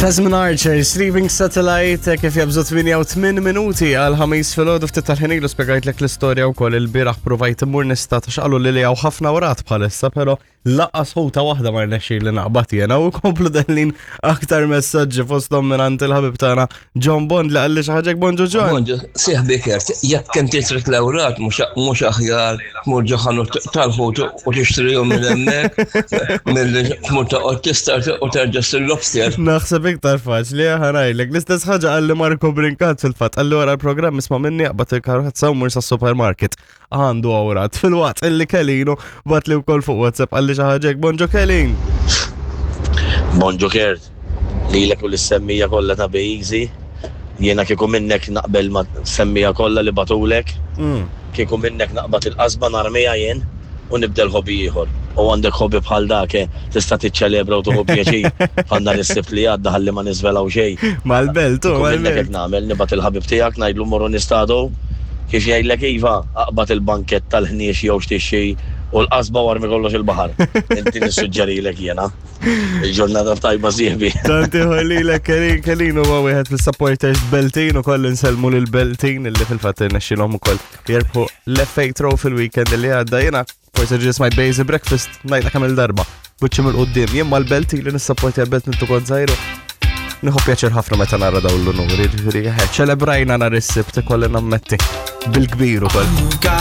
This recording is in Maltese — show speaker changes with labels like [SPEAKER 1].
[SPEAKER 1] Tasman Archer, Sleeping Satellite, kif jabżu 8 minuti għal ħamis fil-ħodu ftit tal-ħin ilu spjegajtlek l-istorja wkoll il-bieraħ provajt immur nista' ta' xaqalu li li hawn ħafna wrat bħalissa, però Laqqas ħuta waħda ma rnexxi li naqbad jena u komplu dellin aktar messaġġi fosthom minn għand il-ħabib tagħna John Bond li qalli xi ħaġa bonġu John.
[SPEAKER 2] Bonġu, sieħbi Kert, jekk inti trid l-ewrat mhux aħjar tmur ġo ħanut tal-ħut u tixtrihom minn hemmhekk milli tmur toqgħod tistart u terġa' ssir lobster.
[SPEAKER 1] Naħseb iktar faċli ħa ngħidlek. L-istess ħaġa qalli Marco Brincat fil-fatt qalli wara l-programm isma' minni aqbad il-karozza u mur sas-supermarket. għandu awrat fil-waqt illi Kelinu bat li wkoll fuq WhatsApp għalli xi ħaġa Bonġo Kelin.
[SPEAKER 3] Bonġo Kert, lilek u lis-semmija kollha ta' Be Easy. Jiena kieku minnek naqbel ma' semmija kollha li bagħtulek. Kieku minnek naqbad il-qasba narmiha jien u nibdel hobby ieħor. U għandek hobby bħal dak, eh, tista' tiċċelebra u tieħu pjaċir bħal nhar is-Sibt li għadda ħalli ma niżvelaw xejn.
[SPEAKER 1] Mal-belt, hu,
[SPEAKER 3] Kieku minnek
[SPEAKER 1] mal-belt.
[SPEAKER 3] hekk nagħmel, nibgħat il-ħabib tiegħek ngħidlu mmorru nistadu. Kif jgħidlek iva, aqbad il-bankett tal-ħniex jew x'tixxi u l-qasba u armi kollox il-baħar. Inti nissuġġerilek jiena. Il-ġurnata tajba sieħbi.
[SPEAKER 1] Tant ieħor lilek Kelin, Kelin huwa wieħed fis-supporters Beltin ukoll insellmu lil Beltin illi fil-fatt irnexxilhom ukoll jirbħu l-FA Trophy fil-weekend li għadda. Jiena forsi ġie smajt Basic Breakfast ngħidha kemm il-darba. Buċċi mill-qudiem, jien mal-Belt li nissapporti għal-Belt minn tukont żgħiru. Nieħu pjaċir ħafna meta nara dawn l-unuri, ġifieri ċelebrajna nhar is-Sibt ikolli nammetti bil-kbir ukoll.